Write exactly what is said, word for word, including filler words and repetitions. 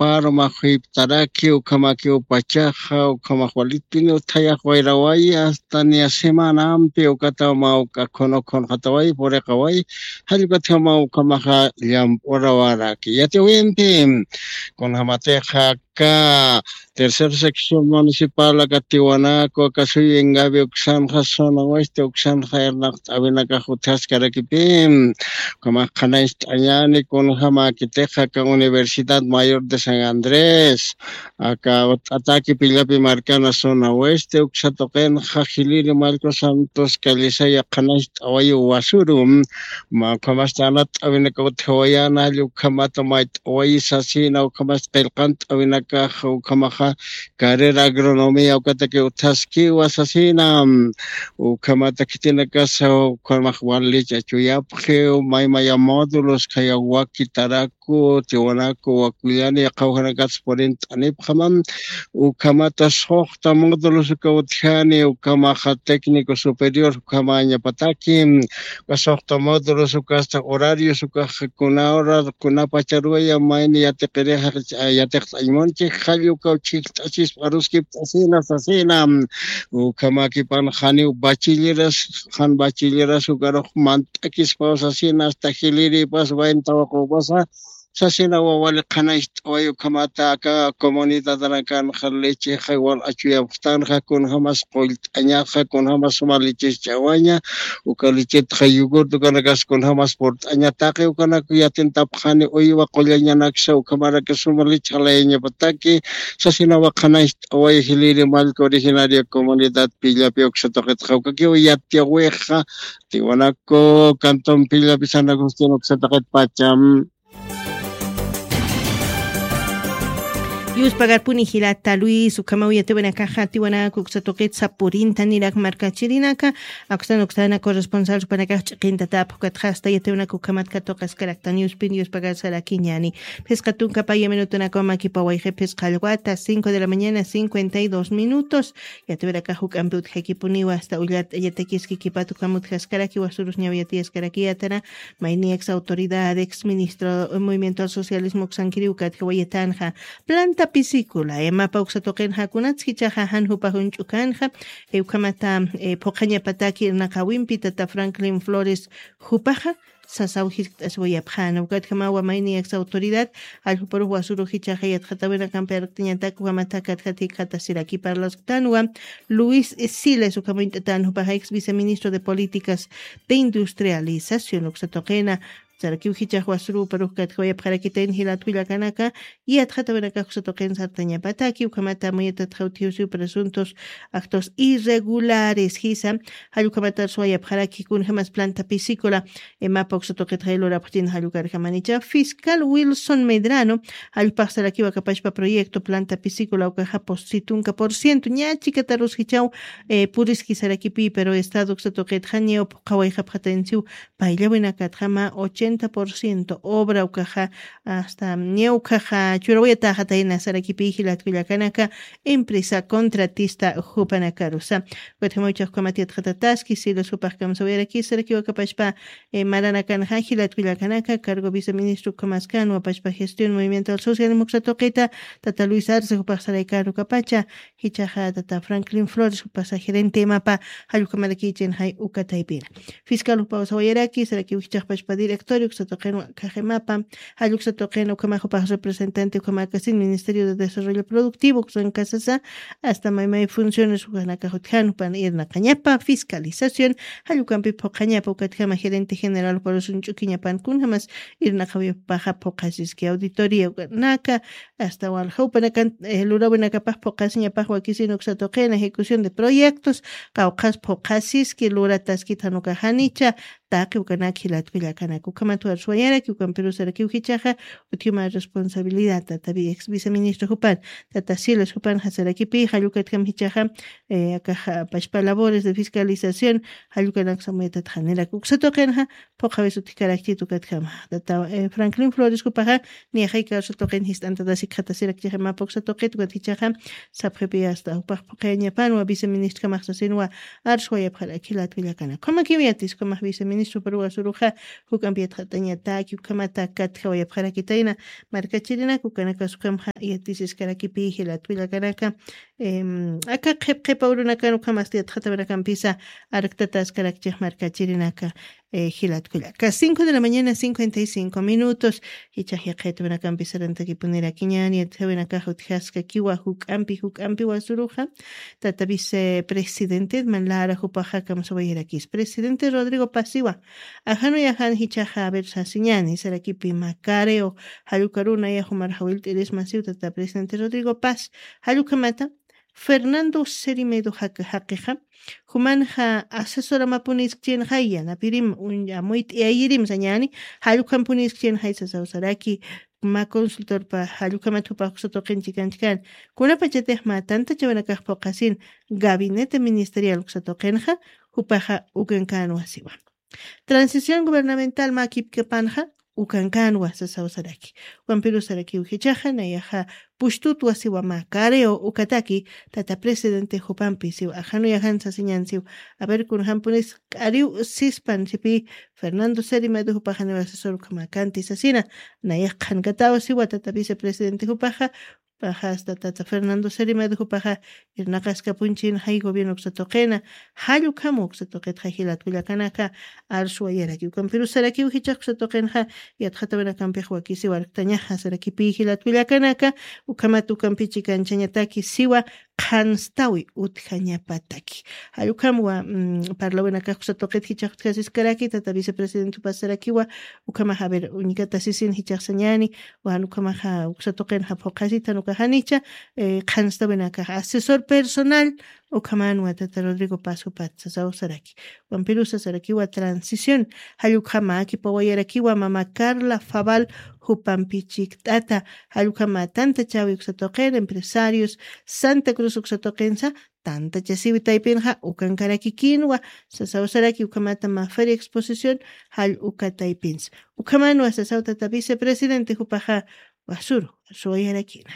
Parumax juyptaraki ukhamakiw pachaxa ukhamax walitpiniw thayax wayrawayi asta niya semanampi ukataw mä uk'a khunu khunxatawayi puriqawayi. Jallukatjamaw ukhamaxa llamp'urawaraki yatiwimpi kunjamatixa aka tercer sección municipal aka tiwanaku aka suyu ingavi uksanxa zona oeste uksanxa irnaqt'awinakax utjaskarakipi. Ukhamax qhanañcht'añani kunjamäkitixa aka universidad mayor de san andrés aka ut'ataki pillapi markana zona oeste uksa tuqinxa jiliri mallku santos callisaya qhanañcht'awayu wasuru ukhamasta anat'awinaka utjawayana jalla ukhamata mayt'awayi sasina ukhamasta qillqant'awinakaxa ukhamaxa carrera agronomía ukataki utjaskiwa sasina. Ukhamata khitinakasa ukhamax walicha chuyapxiw maymaya módulos khaya wakitaraku tiwanaku wakullani qhawjanakatsa purint'anipxamam. Ukhamata suxta módulos uka utjani ukhamaxa técnico superior ukhamañapataki uka suxta módulos ukasta horarios ukax kuna hora kuna pacharuwaya mayni yatiqirixa yatiqt'añmunchik jalla ukaw chhijt'asispa aruskipt'asina sasina. Ukhamakipan janiw bachilleras jan bachilleras ukarux mant'akispaw sasina asta jiliripas wayn tawaqupasa sasina wawali qhanañcht'away ukhamata aka comunidadanakanxa lechexa wal achuyapxtanxa kunjamas qullt'añaxa kunjamas suma leches ch'awaña uka lechetxa yogurt ukanakas kunjamas purt'aña taqi ukanaku yatintapxani uywa qullañanaksa ukhamaraki suma leche jalayañapataki sasinawa qhanañcht'away jiliri mallka originaria comunidad pillapi uksa tuqitxa ukakiw yatiyawixa tiwanaku cantón pillapi san agustín uksa tuqit pacham. Yuspagarpuni jilata luis ukhamaw yatiwanakaxa tiwanaku uksa tuqit sapurinta nirak markachirinaka akstan uksana corresponsal supanakax ch'iqintatap ukatxasta yatiwanaka ukhamat katuqaskaraktan yuspin yuspagarsarakiñani. Phisqa tunka paya minutunakaw makipawayxi phisqa allwata cinco de la mañana cincuenta y dos minutos. Yatiwirakax juk'ampi utjakipuniwa asta ullart'añatakiski kipat ukham utjaskarakiwa surus ñaw yatiyaskarakiyatana. Mayni ex autoridad ex ministro movimiento al socialismo uksankiriw katjawayatanxa planta pisicula emapa uksa tuqinxa kunatskichaxa jan jupax uñch'ukanxa. Ukhamata phuqhañapataki irnaqawimpi tata franklin flores jupaxa sasaw jiskt'asiwayapxäna ukatjamawa mayni ex autoridad alljuparux wasuruxichaxa yatxatawinakampi arkt'añatak ukhamata katjat jikxatasiraki parlasqtanwa. Luis siles ukham uñt'atan jupaxa ex viceministro de políticas de industrialización uksa tuqina sarakiw jichax wasuruparux katjawayapxarakitayn jilat willakanaka. Yatxatawinakax uksa tuqin sartañapataki ukhamata amuyatatxaw utjiwsiw presuntos actos irregulares jisa. Jallukamatar suwayapxaraki kunjamas planta pisicula emapa uksa tuqitxay lurapxtin jallukarjamanicha fiscal wilson medrano jallpaxsarakiw akapashpa proyecto planta pisicula ukaxa pusitunka por ciento ña chikatarus jichaw puriskisarakipi pero estado uksa tuqitxa ñaw phuqhawayxapxatansiw. Payllawinakatxama ochenta por ciento obra ukaxa asta ña ukaxa churawayataxatayna sarakipi jilatkullakanaka empresa contratista jupanakarusa. Ukatjama uchaxkamat yatxatataski silos jupax kamsawayarakisarakiw akapashpa maranakanxa jilatkullakanaka cargo viceministro ukhamaskan wapashpa gestión movimiento al social muksa tuqita tata luis arce jupax saraykan ukapacha. Jichaxa tata franklin flores jupasa gerente imapa jallukamarakichin jay ukataypina. Fiscal jupaw sawayaraki sarakiw jichaxpashpa directorio uksa tuqin khaximapa jalluksa tuqin ukhamax jupax representante ukhamakasin ministerio de desarrollo productivo uksan kasasa asta maymay funciones ukanakax utjan jupan irnaqañapa fiscalización jallukampi phuqhañapa ukatjama gerente general juparus uñch'ukiñapan kunjamas irnaqawipaxa phuqhasiski auditoría ukanaka asta walja upanakan lurawinakapax phuqhasiñapax wakisin uksa tuqina ejecución de proyectos qawqhas phuqhasiski lurataskit jan ukaxanicha. Taqi ukanak jilatkullakanaka ukhamat warsuwayaraki ukampirusarakiw jichaxa utjuma responsabilidad tatabi ex viceministro jupan tata silas jupan jasarakipi jallukatjam jichaxa akax pashpa labores de fiscalización jallukanak samuyatatxanirak uksa tuqinxa. Phuqhawis utjkarakchit ukatjama tata franklin flores jupaxa niyaxay kawsa tuqin jist'antatas ikxatasirakchiximapa uksa tuqit ukat jichaxa sapxipi asta jupax phuqhayañapanwa viceministrkamax sasinwa. Arswayapxarak jilatkullakana ukhamakiw yatis ukhamax viceministro Supruwa suruxa juk'ampi yatxatañataki ukhamata katjawayapxarakitayna. Markachirinaka ukanakasukamxa yatisiskarakipi jilatkullakanaka. Aka qhipqhipa urunakan ukhamasti yatxatawanakampisa arktataskarakchix markachirinaka. Jilatkullaka cinco de la mañana cincuenta y cinco minutos. Jichax yaqhaytawanakampisa rantakipunirakiñani yatjawinakax utjaskakiwa juk'ampi juk'ampi wasuruxa. Tata vicepresidente manlara jupaxa kamsawayarakis presidente Rodrigo Pasiwa. Ajanuyajan jichaxa aver sasiñani sarakipi macareo. Jallukaruna yajumar jawilt'irismasiw tata presidente Rodrigo Paz. Jallukhamata Fernando Serimedo jaqixa jumanxa asesoramapuniskchinxay yanapirim amuyt'iyayirim sañani. Jallukhampuniskkchinxay sasawsaraki mä consultorpa jallukhamat jupax uksa tuqin chikanchkan. Kunapachatix mä tantachawinakax phuqhasin gabinete ministerial uksa tuqinxa jupaxa ukankan wasiwa. Transición gubernamental mä kipkapanxa ukankan wasa sawsaraki. Wampirusarakiw jichaxa nayaxa pushtut wasiwa mä careo ukataki tata presidente jupampi siw ajanuyajan sasiñan siw. Aver kunjampunis k'ariw sispan sipi fernando serimedo jupaxaniw asesor ukhamakanti sasina. Nayax qhankataw siwa tata vicepresidente jupaxa paxasta tata fernando serimedo jupaxa irnaqaskapunchin jay gobierno uksa tuqina. Jallukhamu uksa tuqitxa jilatkullakanaka arsuwayaraki ukampirusarakiw jichax uksa tuqinxa. Yatxatawinakampix wakisiw arktañaxa sarakipi jilatkullakanaka ukhamat ukampichi kanchañataki siwa qhanstawi utjañapataki. Jallukhamwa parlawinakax uksa tuqit jichax utjasiskaraki tata vicepresidente jupasarakiwa. Ukhamax aver uñikatasisin jichaxsañani wan ukhamaxa uksa tuqinxa phuqhasitan ukajanicha qhanstawinakax asesor personal ukhamanwa tata rodrigo paz jupat sasawsaraki. Wampirusasarakiwa transición jallukhamäki pawayarakiwa mama carla fabal jupampi chikt'ata. Jallukhamä tanta chawi uksa tuqin empresarios santa cruz uksa tuqinsa tantachasiwi taypinxa ukankarakikinwa. Sasawsaraki ukhamata mä feria exposición jall uka taypinsa ukhamanwa sasaw tata vicepresidente jupaxa wasuru suwayarakina.